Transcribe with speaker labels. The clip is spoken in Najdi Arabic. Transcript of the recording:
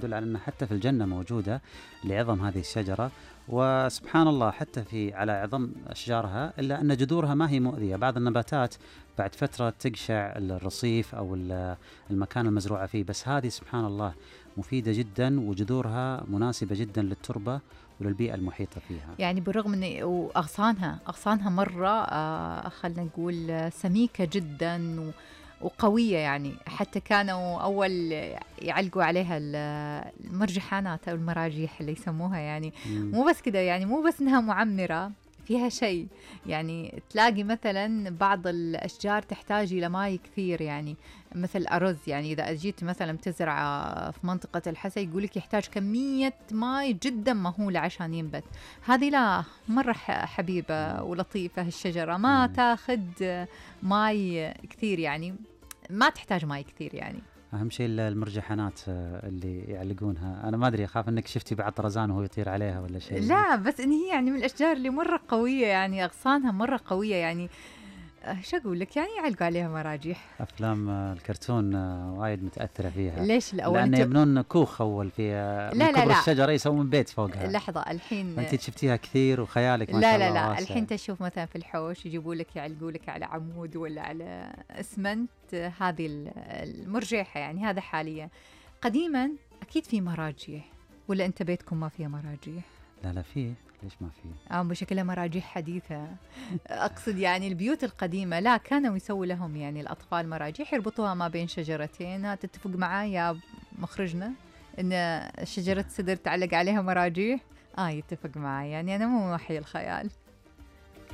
Speaker 1: يدل على أن حتى في الجنة موجودة لعظم هذه الشجرة. وسبحان الله حتى في على عظم أشجارها إلا أن جذورها ما هي مؤذية. بعض النباتات بعد فترة تقشع الرصيف أو المكان المزروعة فيه، بس هذه سبحان الله مفيدة جدا وجذورها مناسبة جدا للتربة وللبيئة المحيطة فيها.
Speaker 2: يعني بالرغم من أغصانها مرة خلنا نقول سميكة جدا وقوية، يعني حتى كانوا أول يعلقوا عليها المرجحانات أو المراجيح اللي يسموها، يعني مو بس كده، يعني مو بس إنها معمرة فيها شيء، يعني تلاقي مثلا بعض الأشجار تحتاج إلى ماء كثير، يعني مثل الأرز، يعني إذا أجيت مثلا تزرع في منطقة الحسا يقولك يحتاج كمية ماء جدا مهولة عشان ينبت. هذه لا، مرة حبيبة ولطيفة الشجرة، ما تاخد ماء كثير، يعني ما تحتاج ماء كثير. يعني
Speaker 1: أهم شيء المرجحانات اللي يعلقونها، أنا ما أدري، أخاف أنك شفتي بعض طرزان وهو يطير عليها ولا شيء.
Speaker 2: لا، بس إن هي يعني من الأشجار اللي مرة قوية، يعني أغصانها مرة قوية، يعني شو أقول لك، يعني يعلقوا عليها مراجيح.
Speaker 1: أفلام الكرتون وايد متأثرة فيها.
Speaker 2: ليش الأول؟
Speaker 1: لأن يبنون كوخ أول في
Speaker 2: لا
Speaker 1: كبر الشجرة يسوون بيت فوقها.
Speaker 2: لحظة الحين
Speaker 1: أنت شفتيها كثير وخيالك ما شاء الله
Speaker 2: لا
Speaker 1: واسع.
Speaker 2: الحين تشوف مثلا في الحوش يجيبوا لك يعلقوا لك على عمود ولا على اسمنت هذه المرجحة، يعني هذا حاليا. قديما أكيد في مراجيح، ولا أنت بيتكم ما فيها مراجيح؟
Speaker 1: لا فيه، ليش ما فيه؟
Speaker 2: بشكلها مراجيح حديثة. أقصد يعني البيوت القديمة لا، كانوا يسووا لهم يعني الأطفال مراجيح يربطوها ما بين شجرتين. تتفق معايا مخرجنا إن شجرة سدر تعلق عليها مراجيح؟ يتفق معي، يعني أنا مو وحي الخيال.